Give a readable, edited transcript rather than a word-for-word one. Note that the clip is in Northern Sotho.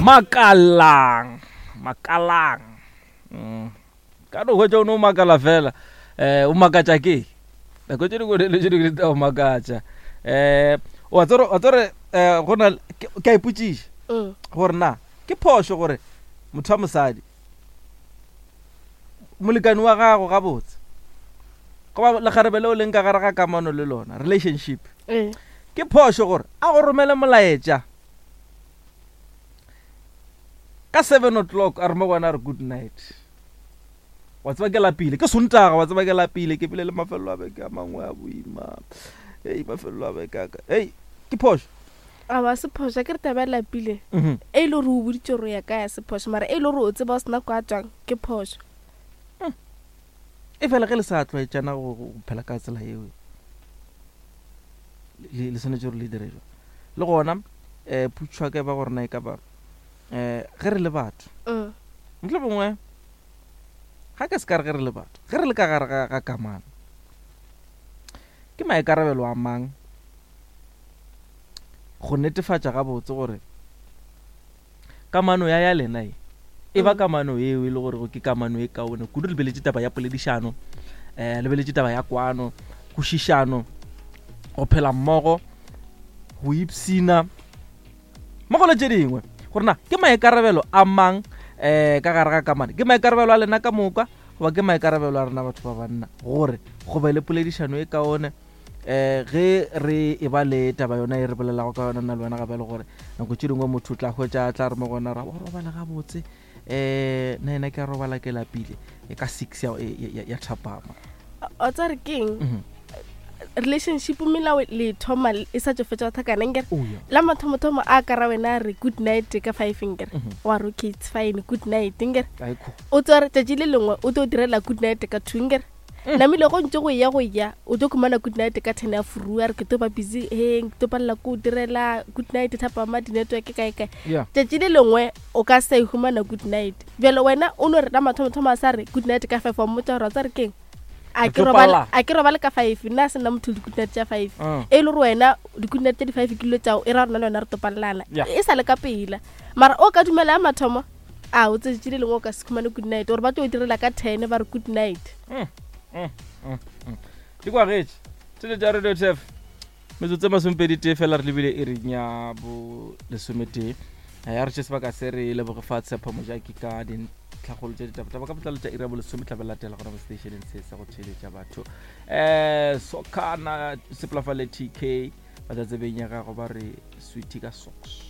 Makalang, makalang. Ka no hwetša o no makala fela. O makatša ke? Nako tše dingwe le tše dingwe di tla go makatša. Wa tsore, wa tsore, go na, ke a ipotšiša gore na ke phošo gore motho wa mosadi molekani wa gago gabotse goba lekgarebe leo leng ka gare ga kamano le lona, relationship, ke phošo gore a go romele molaetša ka 7 o'clock a re mo go wena a re good night. Wa tseba ke lapile, ke Sontaga, wa tseba ke lapile, ke bile le mafelelo a beke a mangwe a boima. Hei, mafelelo a beke a ka. Hei, ke phošo. A ba se phošo, ke re taba ya lapile. E le gore o boditše gore o ya kae ya se phošo, mara e le gore o tseba o sena kwa tswang, ke phošo. E fela ge le sa tlwaetšana go phela ka tsela eo, le swanetše gore le dire jwang? Le gona, putšhwa ka e ba gore na e ka ba, ge re le batho, mohlomongwe, ga ke se ka re ge re le batho, ge re le ka gare ga kamano, ke maikarabelo a mang go netefatša gabotse gore kamano ya ya lena e e ba kamano eo e le gore ke kamano e kaone kudu. Re lebeletše taba ya poledišano, lebeletše taba ya kwano, kwešišano, go phela mmogo, go ipshina mmogo le tše dingwe, gore na ke maikarabelo a mang ka gare ga kamano, ke maikarabelo a lena ka moka goba ke maikarabelo a rena batho ba banna gore go be le poledišano e kaone. Ge re e ba le taba yona e re bolelago ka yona nna le wena gape, le gore nako tše dingwe motho o tla hwetša a tla re mo gona ra o robala gabotse, nna ena ke a robala ke lapile e ka 6 ya thapama. O tsa re keng? Relationship melao le thoma e sa tšo fetša go thakana nkere. Oh, yeah. La mathomothomo a ka ra wena re good night ka 5 nkere. Wa re okay it's fine good night nkere. Ai, cool. O tswa re tšatši le lengwe o tlo direla good night ka 2 nkere. Namile go ntse go ya go ya o tlo khumana good night ka 10 ya furua re ke tlo ba busy he ke tlo palela ko direla good night thapama di network kae kae. Tšatši le lengwe o ka sa e humana good night. Bjale wena o no re la mathomothomo a sa re good night ka 5 wa mmotša gore wa tsa re keng? A Re tlo palla. ke robale ka 5, nna se nna motho di good night tša 5. E le gore wena di good night tša di 5 ke dilo tšao e ra rona le wena re topallana. E sa le ka pela. Mara o ka dumela ya mathomo a o tšatši le lengwe o ka se khumane good night gore ba tlo direla ka 10 ba re good night. Di kwagetše tsele tša Radio Turf metsotso e masomepedi tee fela re lebile e reng ya bo lesometee. Ya re tše sebaka se re leboge fa Tshepo Mojaki ka dintlhakgolo tša ditaba ka botlalo tša iri ya bolesome tla be latela gona mo stationeng se sa go theeletša batho. Sokana sepela fa le TK ba tla tsebeng ya gago ba re sweetie ka socks.